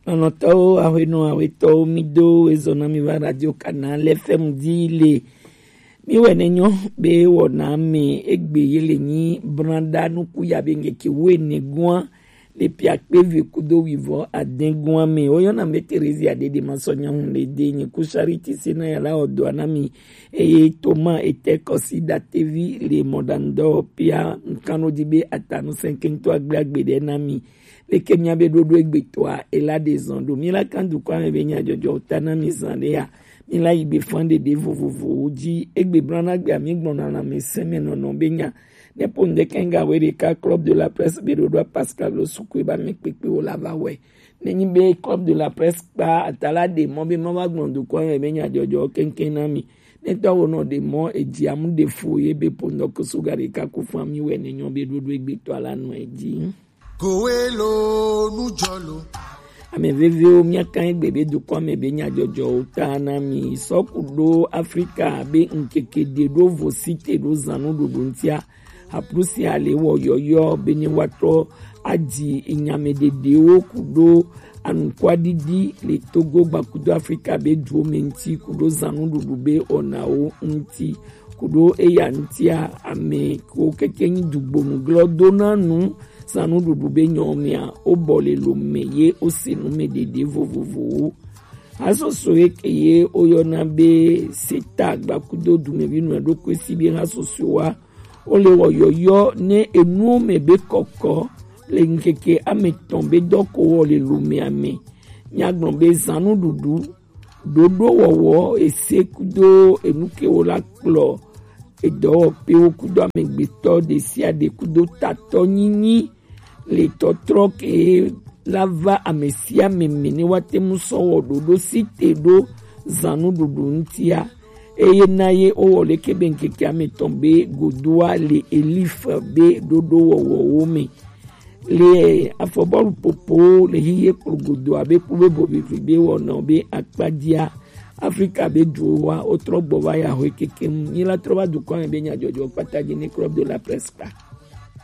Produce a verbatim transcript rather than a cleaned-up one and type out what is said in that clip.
Lɔlɔ̃tɔwo, ahwenɔ, ahwetɔwo, mi do ezɔ na mi va Radio Canal F M di le. Mi wɛ ne nyɔ be wɔna mi egbe ye le nyi branda nuku ya be ŋkeke wo ene gua le pia kpe vi kudo wivɔ aden gua me. Woyɔna mi be Theresia Dede Masɔnya Hun le de nyi ku Charity Sena ya la odo na mi. Eye Thomas ete kɔsi datevi le mɔdandɔ pia nkano di be atanu senkento agbe agbe de na mi. Leke mia be ɖoɖo egbetɔa ela ɖe zɔn ɖo. Mi la kan dukɔ ame be nya jɔjɔ ta na mi zan ɖe ya. Mi la yi gbe fan ɖeɖe vovovowo ji. Egbe blanagbe ami gbɔna lãmesẽ me nɔnɔ be nya. Ne po ŋde kenga we ɖeka Club de la Presse be ɖoɖoa Pascal lo sukue ba me kpekpe wo la va wɛ. Ne nyi be Club de la Presse kpa atala ɖe mɔ be ma va gbɔn dukɔ ame be nya jɔjɔ keŋkeŋ na mi. Ne tɔ wo nɔ ɖe mɔ edzi amu ɖe fo ye be po ŋdɔ ko suga ɖeka ko fan mi wɛ ne nyɔ be ɖoɖo egbetɔa la nɔ edzi. Kowelo nujɔlo. Ame veviwo, míaka egbe be dukɔ me be nyadzɔdzɔwo ta na mi. Sɔ ku ɖo Afrika be ŋkeke ɖe ɖo vo site ɖo zanu ɖuɖu ŋutia. Aplusi ale wɔ yɔyɔ be ne wa trɔ adzi nyame ɖeɖewo ku ɖo anukwaɖiɖi le Togo gbakudo Afrika be duwo me ŋuti ku ɖo zanu ɖuɖu be ɔnawo ŋuti. Ku ɖo eya ŋutia, ame ko keke nyi dugbonu glɔ dona nu zanu ɖuɖu be nyɔ mea, wo bɔ le lo me ye wo se nu me ɖeɖe vovovowo. Hasoso ye ke ye woyɔna be seta gbakudo dumevi nɔ ɖokui si be hasoso wa. Wo le wɔ yɔyɔ ne enuwo me be kɔkɔ le ŋkeke ame tɔn be dɔ ko wɔ le lo mea me. Nyagblɔ be zanu ɖuɖu ɖoɖowɔwɔ ese kudo enu ke wo la kplɔ edɔwɔƒewo kudo amegbetɔ ɖesiaɖe kudo tatɔ nyinyi le tɔtrɔ ke la va ame sia ame me ne woate ŋu sɔ wɔ ɖoɖo si te ɖo zãnuɖuɖu ŋutia. Eye na ye wowɔ leke be ŋkeke ame tɔn be godoa le Elif be ɖoɖowɔwɔwo me. Le afɔbɔlu popo le hiye kplogodo abe kpube bobivi be wɔna be akpadia Afrika be duwoa wotrɔ gbɔ va ya hoe keke ŋu. Nyi la trɔ va dukɔ me be nyadzɔdzɔ kpata dzi ne Club de la Presse kpa.